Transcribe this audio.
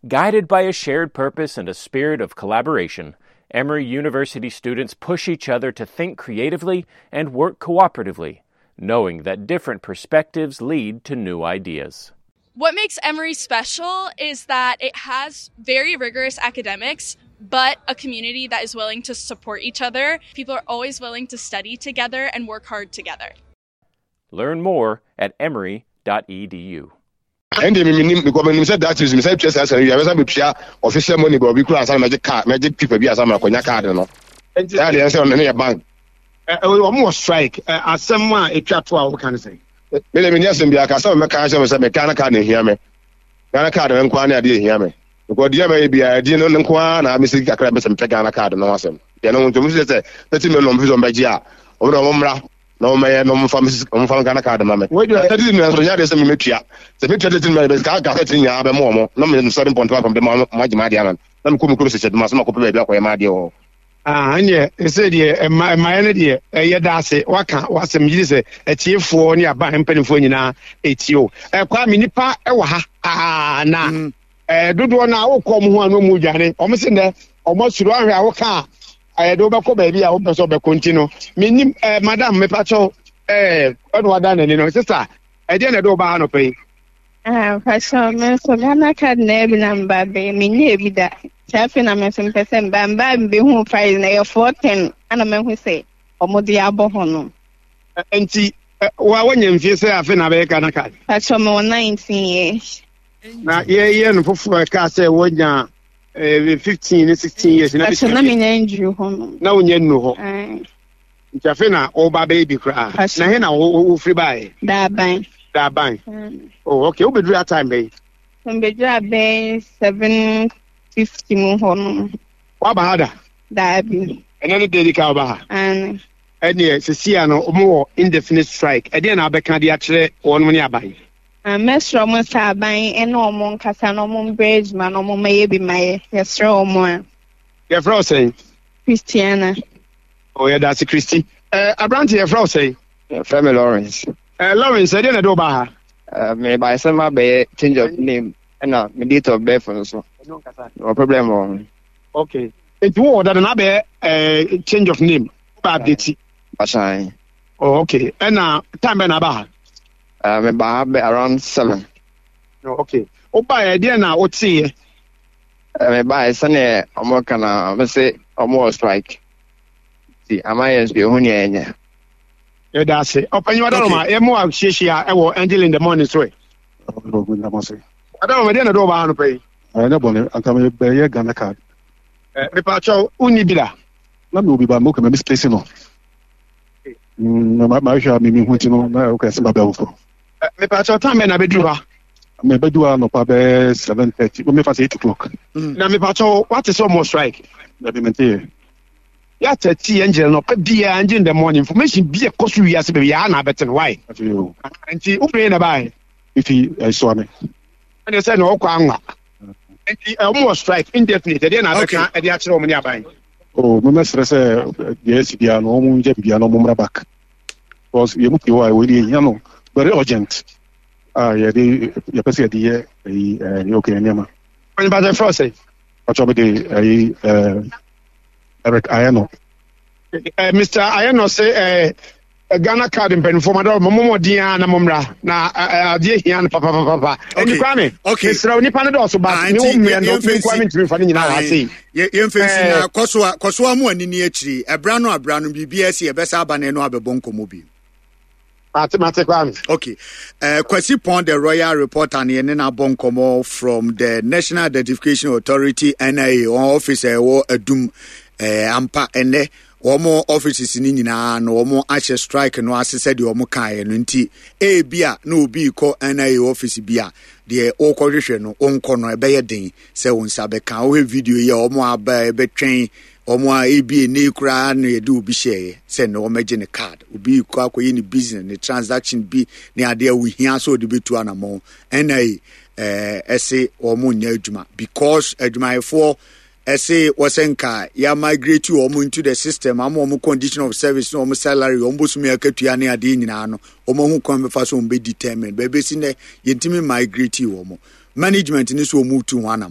Guided by a shared purpose and a spirit of collaboration, Emory University students push each other to think creatively and work cooperatively, knowing that different perspectives lead to new ideas. What makes Emory special is that it has very rigorous academics, but a community that is willing to support each other. People are always willing to study together and work hard together. Learn more at emory.edu. Ɛnde me menim because menim sɛ that is mesɛ tua saa sɛ wia mɛsa bɛtua official money baabi kura ansa na mɛgye car mɛgye paper bi ansa na makɔnya card no. Nti Ɛyɛ deɛ sɛ ɔno yɛ bank. Wɔn wɔ strike. Asɛm a etwa to a wɔka ne sɛn? Me deɛ menni asɛm biara ka sɛ mɛka akyerɛ me sɛ me Ghana card na ehia me. Ghana card no nko ara ne adeɛ ehia me. Because deɛ mɛyɛ biara ɛdeɛ no nko ara na mesi kakra bɛsɛ mepɛ Ghana card no ho asɛm. Deɛ no nti wɔn sɛ 30 million wɔn fi sɛ wɔn bɛgye a wɔn deɛ wɔn mmra na wɔn mɛyɛ na wɔn fa wɔn fa Ghana card ma me. 30 million nso nyɛ adeɛ sɛ memetua. Sɛ metua 30 million bɛsɛ kaa 30 nyinaa bɛma wɔn na me 7.5 de ma wɔn agye m'adeɛ ama na mekɔ me kurom sɛ hyɛ duma so makɔpɛ baabi akɔyɛ m'adeɛ wɔ hɔ. Ah, ɛneɛ ɛsɛ deɛ ɛma ɛmaeɛ no deɛ ɛyɛ da ase waka wasɛm gyidi sɛ atiefoɔ ne aban mpanimfoɔ nyinaa ɛtie o. Ɛkwa me nipa ɛwɔ ha aa na mm. ɛɛ dodoɔ no a wokɔ ɔmo ho a na ɔmo dwane ɔmo se nnɛ ɔmo asuro ahwɛ a woka a ɛyɛ de wobɛkɔ baabi a wopɛ sɛ ɔbɛkɔ nti no menim ɛɛ madam mepakyɛw ɛɛ ɛna wada n'ani no sista ɛdeɛ na ɛde wo ba ha nɔpɛ yi. Ah, mpakyɛw me nso Ghana card na ebi na mba bɛyɛ menyɛ ebi da. Nti afei na me nso mpɛ sɛ mba mba mbehu price na ɛyɛ 410 ana mahu sɛ ɔmo de abɔ hɔ no. Nti wa wanya mfie sɛ afei na abɛyɛ Ghana card? Mpakyɛw mewɔ 19 years. Na yɛyɛ no foforɔ ɛka sɛ wanya 15 ne 16 years na Mpakyɛw na menya nduru hɔ no. Na wonya nnuru hɔ. Nti afei na woba bɛyɛ bi koraa. Na he na wofiri baeɛ? Daaban. Daaban. Oh, okay. Wobɛduru that time bɛyi? Mbɛduru abɛn 7:50 mu hɔ no. Woaba ha da? Daabi. Ɛnɛ ne da di ka woba ha? Aane. Ɛneɛ sesia no wɔn wɔ indefinite strike. Ɛdeɛn na wobɛka de akyerɛ wɔnom ne aban? Mɛsrɛ wɔn sɛ aban ne wɔn nkasa na wɔn mbrɛ adwuma na wɔn mmɛyɛ bi ma yɛ. Yɛsrɛ wɔn a. Yɛfrɛ wo sɛn? Christiana. Oh, yɛda ase Christy. Eh, aberante yɛfrɛ wo sɛn? Yɛfrɛ me Lawrence. Eh, Lawrence, ɛdeɛ na ɛde wo baa ha? Eh, mebae sɛ mabɛyɛ change of name ɛna me date of birth nso. Wɔ problem wɔ ho. Okay. Nti wowɔ dada na abɛyɛ eh, change of name. Wobɛ update. Basan. Oh, okay. Ɛna time bɛn na aba ha? Uh, meba ha bɛ around 7. Oh, okay. Wobaeɛ ɛdeɛ na woteeɛ? Mebaeɛ sɛdeɛ ɔmo ka na ɔmo se ɔmo wɔ strike nti ama yɛn nso yɛhu nea yɛnyɛ. Yɛda ase. Ɔpanyin Wadaroma, okay. Yɛmo ahyiahyia ɛwɔ Angel in the Morning so ɛ. Wadaroma, deɛ na ɛde ɔbaa no pɛ yi. Ɛnyɛ bɔne, anka mebɛyɛ Ghana card. Mepaakyɛw, wonni bi da? Na mewɔ bi ba, mokɛ ma misplace no. Mahwɛ a memehu nti no, na wokɛ sɛ mabɛ foforɔ. Mepaakyɛw, time bɛn na bɛduru ha? Mebɛdu ha anɔpa bɛyɛ 7:30, mefa sɛ 8 o'clock. Na mepaakyɛw, wate sɛ ɔmo strike? Dabi, menteɛ. Yɛata ti angel no ɔpɛ biara angel in the morning information bi ɛkɔ so wiase baabi yɛa na abɛte no why? Nti wofiri na bae? Efi ɛsoa me. Ɛne sɛ na ɔkɔ anwa. Nti ɔmo wɔ strike indefinite, ɛdeɛ na abɛka ɛde akyerɛ ɔmo ne aban? Oh, mɛmɛsrɛ sɛ deɛ asi biara no ɔmo ngya biribiara na ɔmo mmra back. Because yɛn mu pii hɔ a wei deɛ yɛhia no very urgent a yɛde yɛpɛ sɛ yɛde yɛ ɛyi ɛɛ okay nneɛma. Ɔnyɛ bàtɛ fɛ sɛ. Ɔtɔ mi de ɛyi ɛɛ Eric Ayeno. Mr. Ayeno sɛ Ghana card mpanimfoɔ ma dɔw mo mmɔden a na mo mmra na adeɛ hia no papapapa. Ɛni Kwame. Okay. Mesrɛ wo nipa no dɔɔso ba ne wo mmea no me nkoa mentumi mfa ne nyinaa wɔ ase yi. Yɛmfa nsi na kɔsoa kɔsoa mo ani ni akyiri ɛbra no abra no biribi asi ɛbɛsa aba na ɛno abɛbɔ nkɔmmɔ bi. Mate mate Kwame. Okay. Kwasi Pon, the royal reporter, ne yɛne no abɔ nkɔmmɔ from the National Identification Authority NIA wɔn office a ɛwɔ Adum ampa ɛnɛ wɔn offices no nyinaa no wɔn ahyɛ strike no ase sɛdeɛ wɔn kaeɛ no nti ebi a na obi rekɔ NIA office bi a deɛ wɔrekɔhwehwɛ no wɔnkɔ no ɛbɛyɛ den sɛ wɔn nsa bɛka. Wohwɛ video yi a wɔn aba ɛbɛtwɛn Wɔn a ebi ɛnnɛ yi koraa na yɛde obi hyɛeɛ sɛ nnɛ wɔmmɛgye ne card. Obi rekɔ akɔyɛ ne business, ne transaction bi ne adeɛ a ohia sɛ ɔde bɛtu anamɔn. Ɛna yi ɛɛ ɛse wɔn nyɛ adwuma because adwumayɛfoɔ ɛse wɔsɛ nka yɛ migrate wɔn into the system ama wɔn condition of service ne wɔn salary, wɔn bosome akatua ne adeɛ nyinaa no wɔn ahu kwan bɛfa so wɔn bɛ determine. Bɛbɛsi nnɛ yɛntumi migrate wɔn. Management ne so wɔn retu ho anamɔn.